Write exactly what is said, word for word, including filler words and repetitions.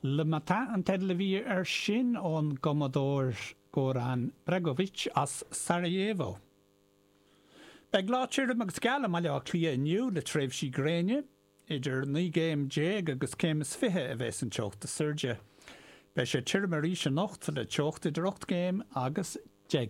Le Matin an teideal a bhí air sin ón gcumadóir Goran Bregovic as Sarajevo. Beidh lá tirim agus geal i mBaile Átha Cliath inniu le tréimhsí gréine, idir naoi gcéim déag agus céim is fiche a bheas an teocht is airde. Beidh sé tirim arís anocht le teocht idir ocht gcéim agus deich.